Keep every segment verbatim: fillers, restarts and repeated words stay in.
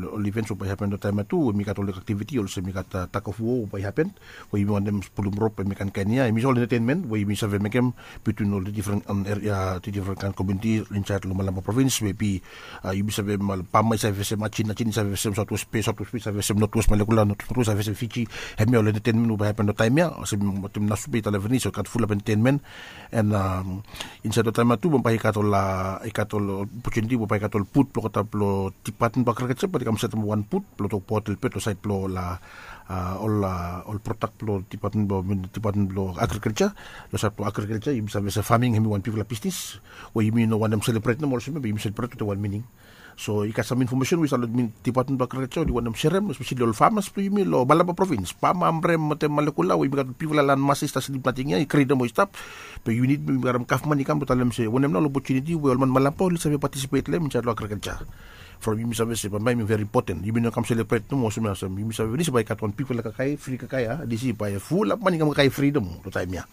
ol events we bae hapen long taem ya tu, we mi gat ol aktiviti olsem mi gat tug of war we bae hapen, we yumi wantem pulum rop, em i kainkain ya, em i ol entertainment we yumi save mekem between ol difren eria, difren kain komuniti insaed long Malampa provins, we bi yumi save, Bama i save fesem Achin, Achin i save fesem South West Bay, South West Bay i save fesem North West Malekula, North West Malekula i save fesem Fiji. Hemia ol entertainment we bae hapen long taem ya, olsem Nasupe i talem finis, i gat fulap entertainment. And insaed long taem ya tu bambae i gat ol, i gat ol opotuniti we bae i gat ol booth blong olgeta blong Department blong Agriculture, bae i kam setem wan booth blong tokbaot lelebet long saed blong ol, ol product blong Department blong, Department blong Agriculture. Long saed blong agriculture yumi save se farming hemi wan bigfala bisnis we yumi no wantem selebret nomo olsem ya, be yumi selebret wetem wan mining. So i gat sam infomesen we i stap long Department blong Agriculture, oli wantem serem espeseli ol famas blong yumi long Malampa provins, Bama, Amrem wetem Malekula, we yumi gat ol bigfala lan masa i stap slip nating ya, i grin nomo i stap. Be yumi nid, yumi karem gavman i kam blong talem se wanem nao ol opotuniti we ol man Malampa oli save patisipet long hem insaed long agriculture. From yumi save se bambae hemi veri impoten, yumi no kam selebret nomo olsem ya, olsem yumi save finis bae i gat wan bigfala kakae, fri kakae ya, disi bae fulap man i kam kakae fri nomo long taem ya.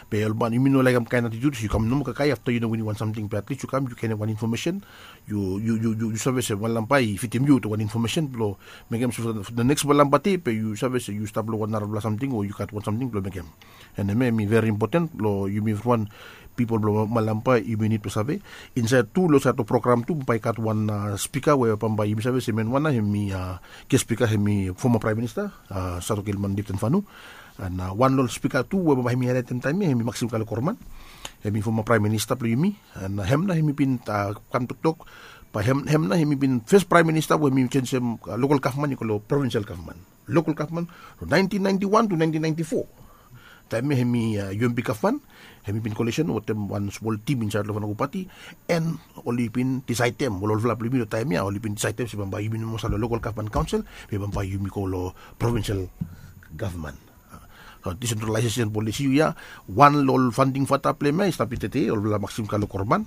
Be ol man, yumi no laekem kaen atitiud se yu kam nomo kakae afta yu no winim wan samting, be atlis yu kam yu genem wan infomesen. Yu, yu, yu, yu save se Malampa i fidim yu wetem wan infomesen blong mekem se for the next Malampa Dei be yu save se yu stap long wan narafala samting o yu gat wan samting blong mekem. And hemia hemi veri impoten blong yumi evriwan, pipol blong Malampa, yumi nid blong save. Insaed tu long saed long program tu bambae i gat wan spika we bambae yumi save se hemia wan nao hemi ges spika hemi foma praem minista, Satoke Ilman Lipton Fanu. And wan long ol spika tu we bambae hemi haelaetem taem ya hemi Maxim Kalokorman, hemi foma praem minista blong yumi. And hem nao hemi bin kam toktok, bae hem nao hemi bin fes praem minista we hemi jenjem lokol gavman i go long provinsel gavman, lokol gavman, long naentin naenti wan tu naentin naenti fo. Taem ya hemi UMP gavman, hemi bin kolisen wetem wan smol tim insaed long Fanago Pati, and oli bin disaedem, ol olfala blong yumi long taem ya oli bin disaedem se bambae yumi no moa stap long lokol gavman kaonsel, be bambae yumi go long provinsel gavman. Disentralaesesen polisi ya, wan long ol faonting fata blong hem ya i stap i tede, olfala Maxim Kalokorman.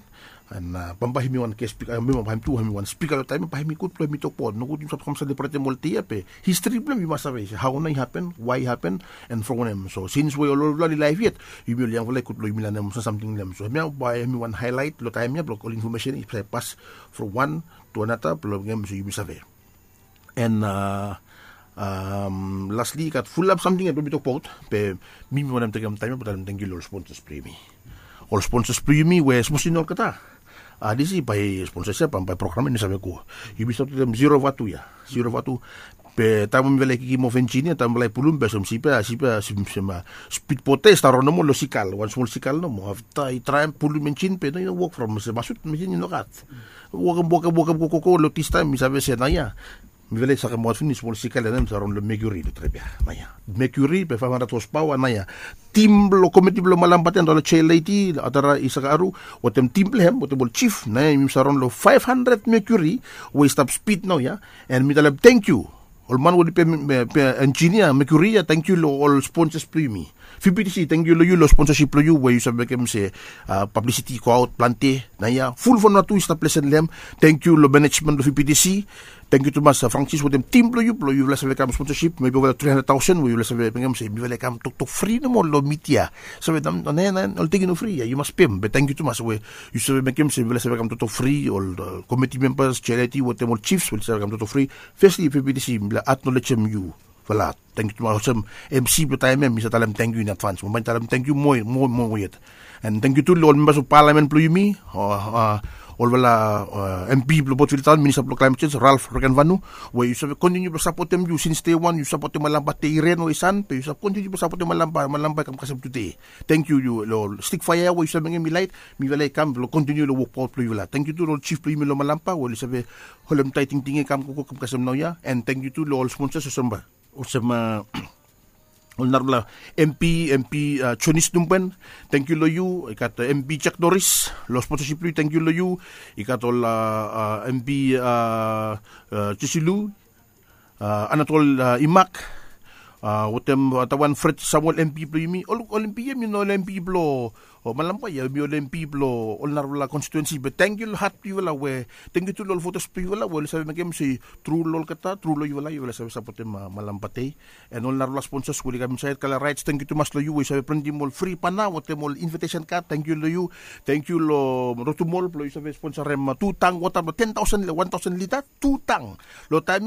And bambae hemi wan ges spika, hemi bambae hem tu hemi wan spika long taem ya, bae hemi gud blong hemi tokbaot. Nogud yumi stap kam selebretem ol dei ya be histri blong hem yu mas save se hao nao i hapen, wae i hapen, and from wanem. So sins we ol olfala oli laef yet, yumi ol yangfala i gud blong yumi lanem sam samting long hem. So hemia bae hemi wan haelaet long taem ya blong ol infomesen i save pas from wan tu anata blong mekem se yumi save. And lastli i gat fulap samting ya blong mi tokbaot, be mi mi wantem tekem taem ya blong talem tangkiu long ol sponsas blong yumi. Ol sponsas blong yumi we sapos i no olgeta, disi bae sponsas ya bambae program ya i no save go. Yumi stap wetem Zero Vatu ya, Zero Vatu. Be taem we mifala i kikim of enjin ya, taem mifala i pulum be olsem sip ya, sip ya, olsem spidbot ya i stap raon nomo long sikal, wan smol sikal nomo. Afta i traem pulum enjin be no i no wok from se masut, mesin i no gat. Wokem, wokem, wokem, go, go, go, long distaem mi save se naoia mifala i sakemaot finis smol sikal ya, naoia mi save raon long Mercury long trip ya naoia. Mercury be faef handred hos paoa naoia. Tim blong komiti blong Malampa Dei, long Chair Lady Adara Isaka Aru, wetem tim blong hem wetem ol jif, naoia yumi save raon long faef handred Mercury we i stap spid naoia. And mi talem tangkiu ol man we oli pe, pe enjinia Mercury ya, tangkiu long ol sponsas blong yumi. VPTC, tangkiu long yu long sponsasip blong yu we yu save mekem se pablisiti i goaot plante naoia. Ful Vanuatu i stap lesen long hem. Tangkiu long manejmen blong VPTC. Tangkiu tumas Francis wetem tim blong yu blong yufala save kam sponsasip, mebi ova tri handred taosen we yufala save mekem se mifala i kam toktok fri nomo long midia. Save naoia, naoia ol ting i no fri ya, yu mas pem. Be tangkiu tumas we yu save mekem se mifala save kam toktok fri, ol komiti membas, Chair Lady wetem ol jifs we oli save kam toktok fri. Fesli VPTC, mifala aknolejem yu. Fala, tangkiu tumas. Olsem MC blong taem ya mi save talem tangkiu in advans. Bambae mi talem tangkiu moa, moa, moa yet. And tangkiu tu long ol membas blong palamen blong yumi, olfala MP blong Port Vila Taon, minista blong klaemet jenj Ralph Regenvanu, we yu save kontiniu blong sapotem yu sins dei wan. Yu sapotem Malampa Dei, i ren o i san, be yu save kontiniu blong sapotem Malampa, Malampa i kam kasem tude. Tangkiu yu long stik faea ya we yu save mekem i laet, mifala i kam blong kontiniu long wokbaot blong yufala. Tangkiu tu long ol jif blong yumi long Malampa we oli save holem taet tingting ya i kam gogo kam kasem naoia. And tangkiu tu long ol sponsas olsem ba olsem ol narafala MP, MP Jonis Numbwen, tangkiu long yu. I gat MP Jack Norris, long sponsasip blong yu, tangkiu long yu. I gat ol MP Jesilu, Anatol Imak, wetem tawan Fred Samuel, MP blong yumi. Ol MP ya hemi no ol MP blong Malampa ya, hemi ol MP blong ol narafala konstituensi. Be tangkiu long hat blong yufala we, tangkiu tu long ol votas blong yufala we oli save mekem se tru long olgeta, tru long yufala, yufala save sapotem Malampa Dei. And ol narafala sponsas we oli kam insaed, Kala Rides, tangkiu tumas long yu we yu save printim ol fri bana wetem ol invatesen kad, tangkiu long yu. Tangkiu long Rotumol blong yu save sponsarem tu tang wota blong ten taosen, wan taosen lita, tu tang. Long taem